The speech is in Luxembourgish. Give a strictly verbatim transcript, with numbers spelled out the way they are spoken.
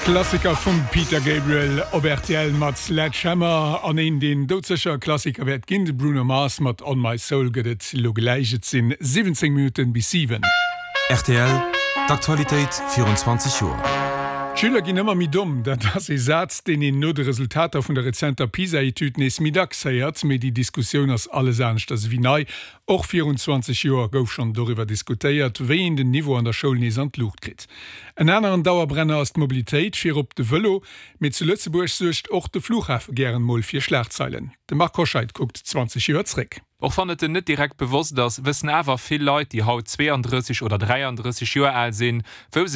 Klassiker vum Peter Gabriel op R T L mat Sledgehammer. An een, deen doudsécher Klassiker wäert ginn, de Bruno Mars mat On My Soul, gëtt et lo gläich. Et sinn siwwenzéng Minutten bis siwen. R T L, d'Aktualitéit virun zwanzeg Joer. D'Schüler ginn ëmmer méi domm. Dat ass e Saz, deen een no de Resultater vun der rezenter PISA-Etüd nees méi dacks héiert. Mee déi Diskussioun ass alles aneschters wéi nei. Och virun zwanzeg Joer gouf schonn doriwwer diskutéiert, wéi een den Niveau an der Schoul nees an d'Luucht kritt. En aneren Dauerbrenner ass d'Mobilitéit, virop de Vëlo. Mee zu Lëtzebuerg suergt och de Flughafe gären mol fir Schlagzeilen. De Marc Hoscheid kuckt zwanzeg Joer zréck. Och wann et net direkt bewosst ass, wëssen awer vill Leit, déi haut zweeandrësseg oder dräiandrësseg Joer al sinn, wou se